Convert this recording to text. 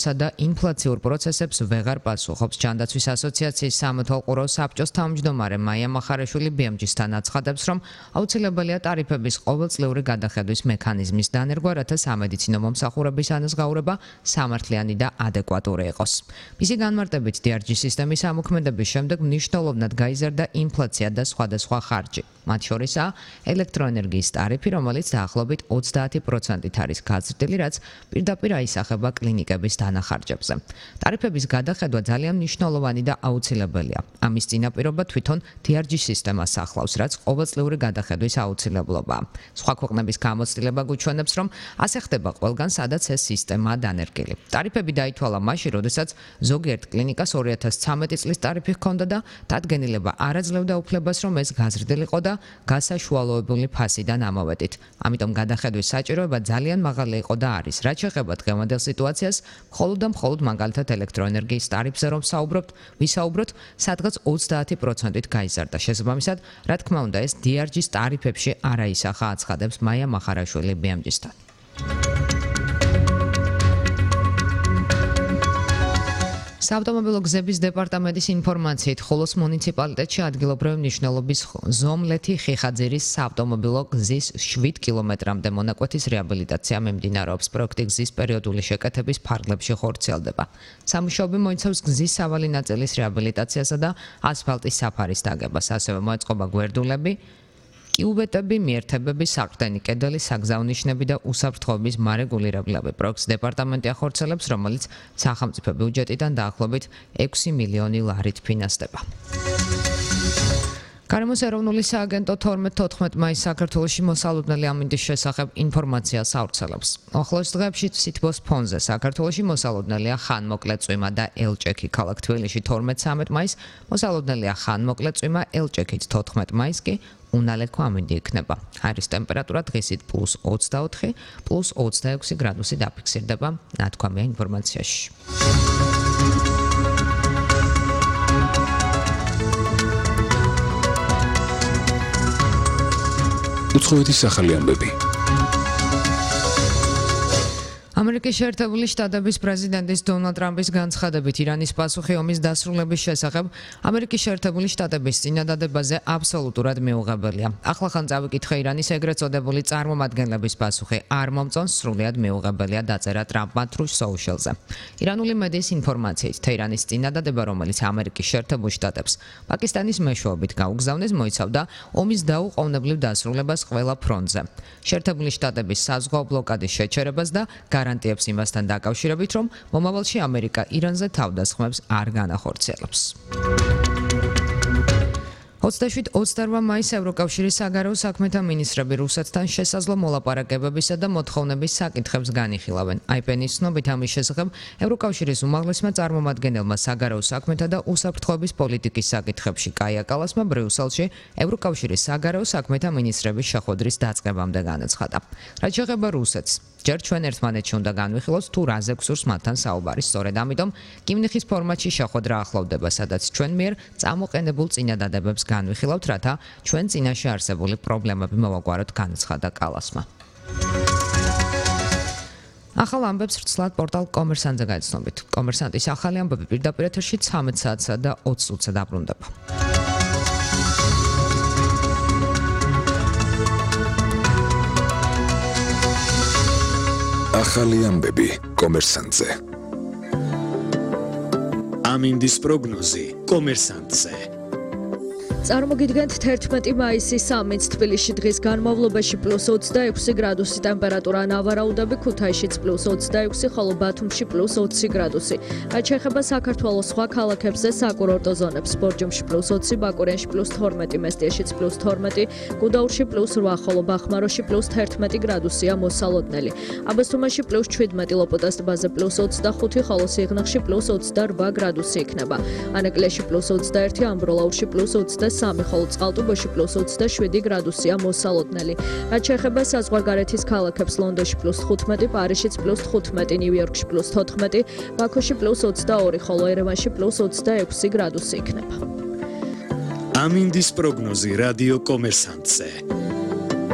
და ინფლაციურ პროცესებს ვეღარ პასუხობს. ჯანდაცვის ასოციაციის სამეთვალყურო საბჭოს თავმჯდომარე მაია მახარაშვილი BMG-სთან აცხადებს, რომ აუცილებელია ტარიფების ყოველწლიური გადახედვის მექანიზმის დანერგვა, რათა სამედიცინო მომსახურების ანაზღაურება სამართლიანი და ადეკვატური იყოს. მისი განმარტებით, DRG სისტემის ამოქმედების შემდეგ მნიშვნელოვნად გაიზარდა ინფლაცია და სხვადასხვა ხარჯი. მათ შორისაა ელექტროენერგიის ტარიფი, რომელიც დაახლოებით 30%-ით არის გაზრდილი, რაც პირდაპირ აისახება კლინიკების დანახარჯებზე. ტარიფების გადახედვა ძალიან მნიშვნელოვანი და აუცილებელია. ამის წინაპირობა თვითონ DRG სისტემას ახლავს, რაც ყოველწლიური გადახედვის აუცილებლობაა. სხვა ქვეყნების გამოცდილება გვიჩვენებს, რომ ასე ხდება ყველგან, სადაც ეს სისტემაა დანერგილი. ტარიფები დაითვალა მაშინ, როდესაც ზოგიერთ კლინიკას 2013 წლის ტარიფი ჰქონდა და დადგენილება არ აძლევდა უფლებას, რომ ეს გაზრდილიყო და გასაშუალოებული ფასიდან ამოვედით. ამიტომ გადახედვის საჭიროება ძალიან მაღალი იყო და არის. რაც შეეხება დღევანდელ სიტუაციას, მხოლოდ მაგალითად ელექტროენერგიის ტარიფზე რომ ვისაუბროთ, სადღაც 30%-ით გაიზარდა. შესაბამისად, რა თქმა უნდა, ეს DRG-ს ტარიფებში არ აისახა, აცხადებს მაია მახარაშვილი BMG-სთან. საავტომობილო გზების დეპარტამენტის ინფორმაციით, ხოლოს მუნიციპალიტეტში ადგილობრივი მნიშვნელობის ზომლეთი ხიხაძირის საავტომობილო გზის 7 კილომეტრამდე მონაკვეთის რეაბილიტაცია მიმდინარეობს. პროექტი გზის პერიოდული შეკეთების ფარგლებში ხორციელდება. სამუშაოები მოიცავს გზის სავალი ნაწილის რეაბილიტაციასა და ასფალტის საფარის დაგებას. ასევე მოეწყობა გვერდულები, კიუბეტები, მიერთებები, საყრდენი კედელი, საგზაო ნიშნები და უსაფრთხოების მარეგულირებლები. პროექტს დეპარტამენტი ახორციელებს, რომელიც სახელმწიფო ბიუჯეტიდან დაახლოებით 6 მილიონი ლარით ფინანსდება. გარემოს ეროვნული სააგენტო 12-14 მაისს საქართველოში მოსალოდნელი ამინდის შესახებ ინფორმაციას ავრცელებს. ახლოს დღეებში სითბოს ფონზე საქართველოში მოსალოდნელია ხანმოკლე წვიმა და ელჭექი. ქალაქ თბილისში 12-13 მაისს მოსალოდნელია ხანმოკლე წვიმა, ელჭექით 14 მაისს კი უნალექო ამინდი იქნება. აირის ტემპერატურა დღისით +24, +26 გრადუსი დაფიქსირდება, ნათქვამია ინფორმაციაში. უცხოეთის ახალი ამბები. ამერიკის შეერთებული შტატების პრეზიდენტის დონალდ ტრამპის განცხადებით, ირანის პასუხი ომის დასრულების შესახებ ამერიკის შეერთებული შტატების წინადადებაზე აბსოლუტურად მიუღებელია. ახლახან წავიკითხე ირანის ეგრეთ წოდებული წარმომადგენლების პასუხი არ მომწონს, სრულიად მიუღებელია, დაწერა ტრამპმა Truth Social-ზე. ირანული მედიის ინფორმაციით, თეირანის წინადადება, რომელიც ამერიკის შეერთებულ შტატებს პაკისტანის მეშვეობით გაუგზავნეს, მოიცავდა ომის დაუყოვნებლივ დასრულებას ყველა ფრონტზე. შეერთებული შტატების საზღვაო ბლოკადის შეჩერებას და გარანტიებს იმასთან დაკავშირებით, რომ მომავალში ამერიკა ირანზე თავდასხმებს არ განახორციელებს. 27-28 მაისს ევროკავშირის საგარეო საქმეთა მინისტრები რუსეთთან შესაძლო მოლაპარაკებებისა და მოთხოვნების საკითხებს განიხილავენ. IPN-ის ცნობით ამის შესახებ ევროკავშირის უმაღლესმა წარმომადგენელმა საგარეო საქმეთა და უსაფრთხოების პოლიტიკის საკითხებში კაია კალასმა ბრიუსელში ევროკავშირის საგარეო საქმეთა მინისტრების შეხვედრის დაწყებამდე განაცხადა. რაც შეეხება რუსეთს, ჯერ ჩვენ ერთმანეთში უნდა განვიხილოთ თუ რაზე გვსურს მათთან საუბარი. სწორედ ამიტომ კიმნიხის ფორმატში შეხვედრა ახლოვდება, სადაც ჩვენ მიერ წამოყენებულ წინადადებებს განვიხილავთ, რათა ჩვენ წინაშე არსებული პრობლემები მოვაგვაროთ, განაცხადა კალასმა. ახალ ამბებს ვრცლად პორტალ კომერსანტზე გაიცნობით. კომერსანტის ახალი ამბები პირდაპირ ეთერში 13 საათსა და 20 წუთზე დაბრუნდება. ახალი ამბები კომერსანტზე. ამინდის პროგნოზი კომერსანტზე. წარმოგიდგენთ 11 მაისის სამინც თბილისში დღის განმავლობაში +26 გრადუსი ტემპერატურა, ნავარაუდები ქუთაისშიც +26, ხოლო ბათუმში +20 გრადუსი. რაც შეეხება საქართველოს სხვა ქალაქებზე, საკურორტო ზონებს, ბორჯომში +20, ბაკურიანში +12, მესტიაშიც +12, გუდაურში +8, ხოლო ბახმაროში +11 გრადუსია მოსალოდნელი. აბასთუმანში +17, ლოპოტას ტბაზე +25, ხოლო სიღნაღში +28 გრადუსი იქნება. ანაკლიაში +21, ამბროლაურში +23, ხოლო წყალტუბოში +27 გრადუსია მოსალოდნელი. რაც შეეხება საზღვარგარეთის ქალაქებს, ლონდონში +15, პარიზშიც +15, ნიუ-იორკში +14, ბაქოში +22, ხოლო ერევანში +26 გრადუსი იქნება. ამინდის პროგნოზი რადიო კომერსანტზე.